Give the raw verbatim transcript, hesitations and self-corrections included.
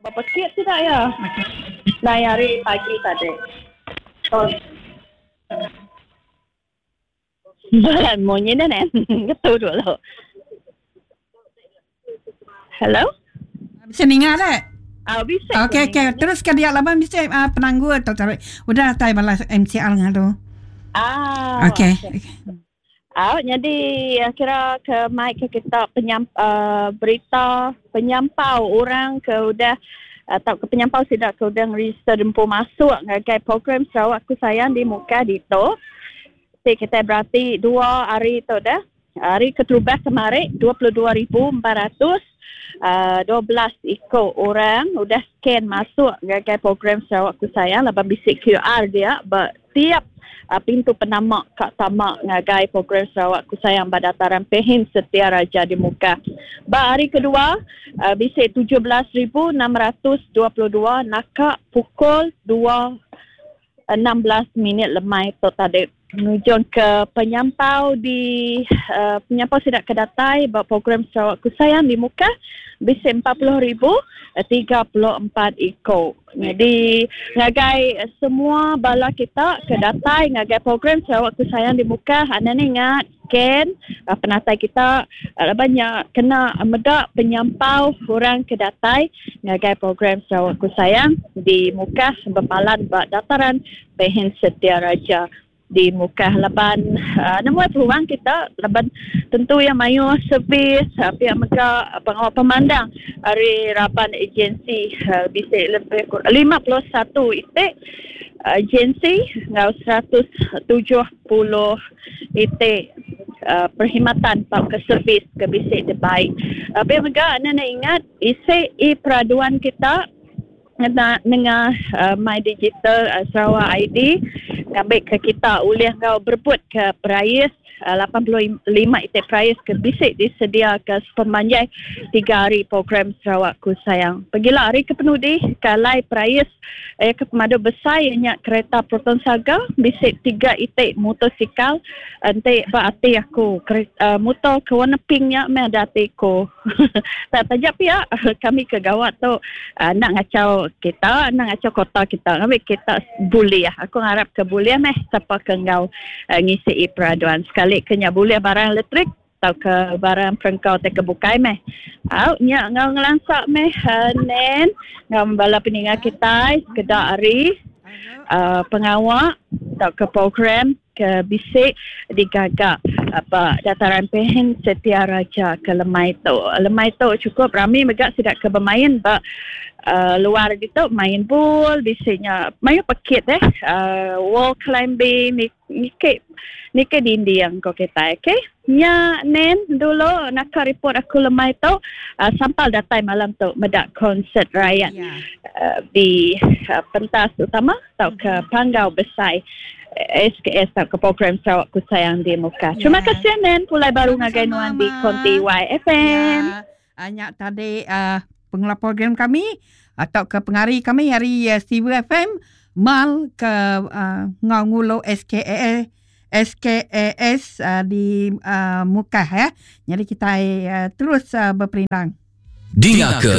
Bepekit sida iya. Nai hari pagi tadi. Oh. Munyi nya neh. Ngetu dulu. Hello? Bisa ninga dek? Ah, bisa. Okey, okey. Terus ke dia laban bisa uh, penanggul tu tarik. Udah datai bala M C L ngadu. Ah. Okey. Okey. Ah, jadi kira ke mai ke kita penyam, uh, berita penyampau orang ke udah atau ke penyampau sida ke udah register dempu masuk ngagai program Sarawak Aku Sayang di Mukah ditu. Ti kita berarti dua hari tu dah. Hari keterubah kemarin dua puluh dua ribu empat ratus uh, dua belas iko orang udah scan masuk ngagai program Sarawak Aku Sayang laban bisi Q R dia ba tiap uh, pintu penama kak tamak ngagai program Sarawak Ku Sayang ba Dataran Pehin Setia Raja di Mukah. Ba hari kedua uh, bisi tujuh belas ribu enam ratus dua puluh dua naka pukul dua enam belas minit lemai tu tadi. Menuju ke penyampau di uh, penyampau sidak ke datai ba program Sarawak Ku Sayang di Mukah bisi empat puluh ribu tiga puluh empat iko. Jadi ngagai semua bala kita ke datai ngagai program Sarawak Ku Sayang di Mukah, anda ni ingat scan uh, penatai kita uh, banyak kena medak penyampau orang ke datai ngagai program Sarawak Ku Sayang di Mukah berpalan ba Dataran Pehin Setia Raja di Mukah laban uh, nemu peluang kita laban tentu yang mayu servis uh, pihak mega uh, pengawal pemandang hari raban agensi uh, bisa lebih kurang lima puluh satu itik agensi ngau seratus tujuh puluh itik uh, perkhidmatan atau ke servis ke bisik terbaik. Uh, pihak mega anda nak ingat isi e peraduan kita ngena dengan uh, My Digital uh, Sarawak I D ngambil ke kita ulih ngau berebut ke perais uh, lapan puluh lima itik perais ke bisik disedia ke sepemanjai tiga hari program Sarawak Ku Sayang. Pergilah hari ke penudi kalai perais eh, ke pemadu besar ianya kereta Proton Saga, bisik tiga itik motosikal. Ente ba ati aku kereta, uh, motor ke warna pinknya me ada ati ku. Tak tajak pihak kami ke gawat tu uh, nak ngacau kita, nak ngacau kota kita. Kami kita boleh. Aku harap ke boleh meh siapa ke ngau uh, ngisi peraduan sekali kenya boleh barang elektrik atau ke barang perengkau atau ke bukai meh. Au nya ngau ngelansak meh uh, nen ngau bala peningat kita sekedar hari uh, pengawak atau ke program ke bisik digagak apa Dataran Pehin Setia Raja ke lemai tu. Lemai tu cukup ramai megak sidak ke bermain ba uh, luar gitu main bul bisiknya main pekit eh uh, wall climbing ni ni ni ke dinding ko kita, okey. Nya nen dulu nak report aku lemai tu uh, sampal datai malam tu medak konsert rakyat yeah. uh, di uh, pentas utama atau ke mm-hmm. Panggau Besai S K S atau ke program Sarawak Ku Sayang di Mukah. Terima yeah. kasih nen pulai baru ngagai nuan di Konti Y F M. Ya. Anyak tadi uh, pengelola program kami atau ke pengari kami hari uh, Steve F M mal ke uh, ngau ngulo S K A S S K A S uh, di uh, Mukah ya. Jadi kita uh, terus uh, berperindang. Dinga ke